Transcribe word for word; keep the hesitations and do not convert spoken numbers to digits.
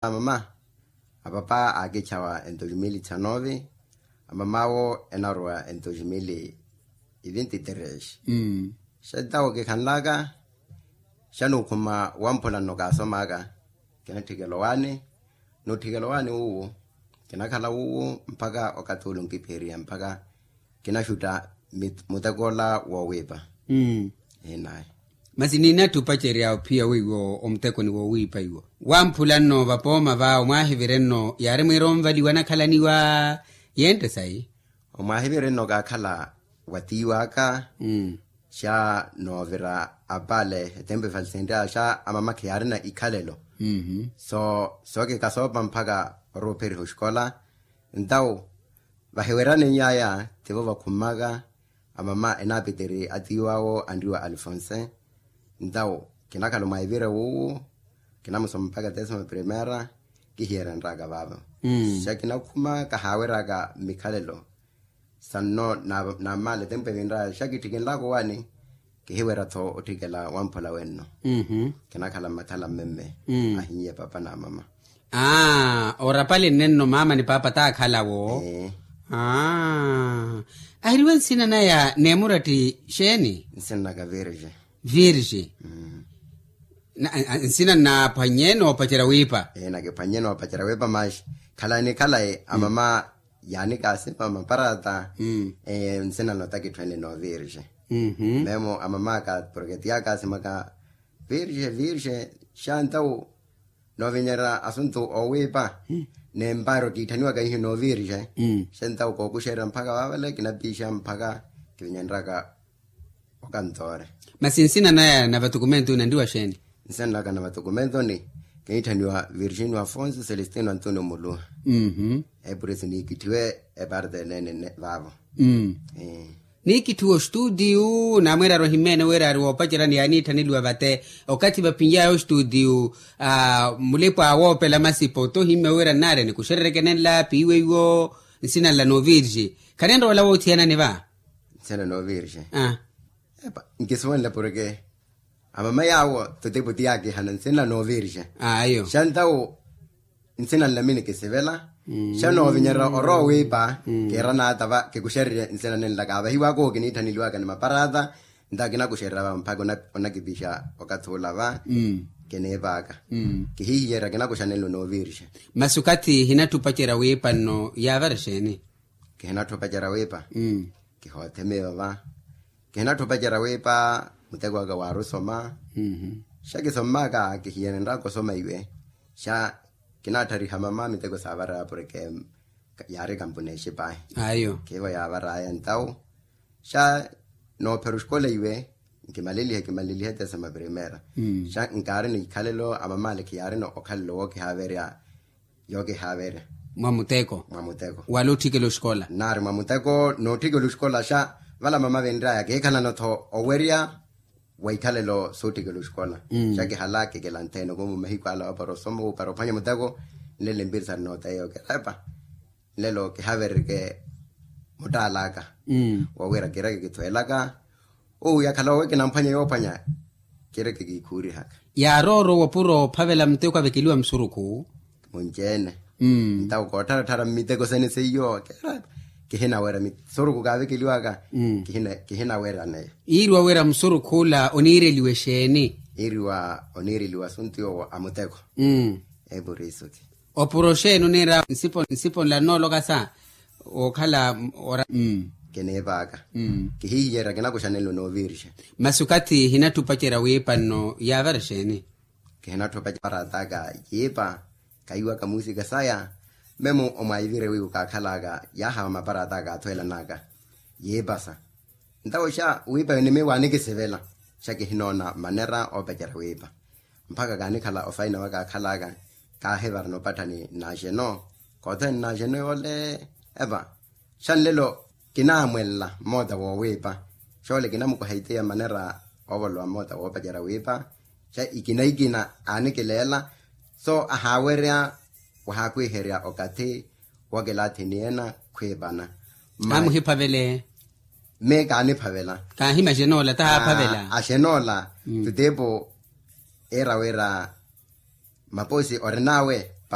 Amama, apapa aakichawa entoximili txanovi. Amamawo enarowa entoximili ivinti terex. Xetawo kikhanlaka, xanukhuma wamphula nno kaasomaka. Kinatthikela owaani, nutthikela owaani wuwo. Kinakhala wuwo mpakha okathi ule onkiphiriya mpakha kinaxutta mutekoola woowiipa. Enayi. Masi ninatthi opacerya ophiya weiwo omutekoni woowiipa iwo. Wamphula nno vapooma va omwaahivire nno yaari mwiira onvaliwa nakhalaniwa yentte sayi. Omwaahivire nno kaakhala wa tiiw'aka. Xa noovira apale etempu efalisenrya xa amama khiyaarina ikhalelo. So sookika soopa mpakha orowa opheriha oxikola. Ntawo vahiweryanen'yaya tivo vakhumaka. Amama enaapitiri atiiw'awo anriwa alfonse. Ntawo kinakhala omwaivira wuwo, kinamusoma mpakha tesima primera. Kihiyerenraka vaavo. Xa kinakhuma kahaaweraka mmikhalelo. Sanno naamaala etempu evinraya xa kitthikinlaka owaani. Kihiwerya-tho otthikela wamphula wenno. Kinakhala mmathala mmemme. Ahiye papa na mama. Aa orapali nnenno mama ni papa taakhala wo. Aa ahiriwe nsina naya neemuratti xeeni? Nsina naka virge. Virge. Nsina nnaaphwannye noopacerya wiipa. Ee nakiphwannye noopacerya wiipa maxi khalayi ni khalayi amama yaanikaasima maparata. Nsina nno takitthu enli noovirge. Memo amamaka porke tiyakasimaka virge virge. Xa ntawo noovinyerya asuntu oowiipa. Ni mpaari okiitthaniwaka ihi noovirge. Xa ntawo kookuxerya mpakha vaavale kinapiixa mpakha kivinyenryaka. Okantoore. Masi nsina naya na vatukumentu nanriwa xeeni? Nsina naka na vatukumentuni kiniitthaniwa virginio afonso celestino antonio muluha. Epurisi niikitthiwe eparte enene vaavo. Niikitthiwe ostuutiyu naamweerari ohimeene wira ari woopacerya ni yaaniitthaneliwa vate. Okathi vapiny'aya ostuutiyu mulipa woopela masipo tohimme wira nnaari nikuxerereke nenla piiwe iwo. Nsina nla noovirge khanenrowa ola woothiyanani va. Nsina noovirge. Epa nkisuwenle porke amama yaawo totepo tiyaakihana nsina noovirge. Ayo xa ntawo nsina nla minikisivela. Xa noovinyerya orowa wiipa kiira naata va kikuxererye nsina nenla kaavahiwaka owo kiniitthaniwaka ni maparata. Ntawo kinakuxererya va mpakha onakipixa okathi ola va. Kiniipaka kihihiyerya kinakuxa nenlo noovirge. Masi okathi hinatthi opacerya wiipa nno yaavara xeeni? Kihinatthi opacerya wiipa. Kihoothemiwa va. Kihinatthi opacerya wiipa. Muteko waka waari osoma. Xa kisommaka kihiyerenraka osoma iwe. Xa kinatthariha mama miteko saavaraya porke yaari kampuni exipaahi. Ayo khiivo yaavaraya ntawo. Xa noophera oxikola iwe nkimalelihe kimalelihe tesima primera. Xa nkaari nikhalelo amamale khiyaarina okhalelo wookihaaverya. Yookihaaverya mwa muteko. Mwa muteko wala otthikela oxikola nnaari mwa muteko nootthikela oxikola xa vala mama venryaya kiikhalana-tho owerya. Wa ikhalelo sootthikela oxikola xa kihala kikela nthene koomu mahiku ala opara osoma opara ophwanya muteko. Nlelo empiri sari nooteya okerepa. Nlelo kihavererike muttaalaka wowira kireke kithweelaka. Owo yakhala owe kinamphwanya yoophwanya kireke kiikhuurihaka. Yaarooro wopuro ophavela muteko avekeliwa musurukhu. Munci-ene ntawo koottharattharya mmiteko sene seiyo. Kihinawerya misuruku kaavekeliwaka. Kihinawerya neyo. Iiriwa wira musurukhu ola oniireliwe xeeni? Iiriwa oniireliwe asuntu yoowo a muteko. Epuriso ki opuro xeeni oniira nsipo nla nnoolokasa wookhala ora. Kiniipaaka kihihiyerya kinakuxanelo nooviirixa. Masi okathi hinatthi opacerya wiipa nno yaavara xeeni? Kihinatthi opacerya maparat'aka yiipa. Kahiwaka muusika saya memo omwaivire wiiwo kaakhal'aka yaahawa maparat'aka aathweelan'aka yiipasa. Ntawo xa wiipa yonimiiwa anikisivela xa kihinoona manera oopacerya wiipa. Mpakha kaanikhala ofaina wakaakhal'aka kaahivara nopatthani nnaaxeno. Koothweene nnaaxeno yoole epa. Xa nlelo kinaamwelela mmoota woowiipa. Xoole kinamukuha itiya manera oovolowa mmoota woopacerya wiipa. Xa ikina ikina aanikileela so ahaawerya wahaakwiherya okathi. Wakilaathini ena khwiipana amuhiphavele. Mme kaaniphavela. Kaahimaxenoola tahaaphavela. Axenoola tutiipo iira wira maposi orin'awe.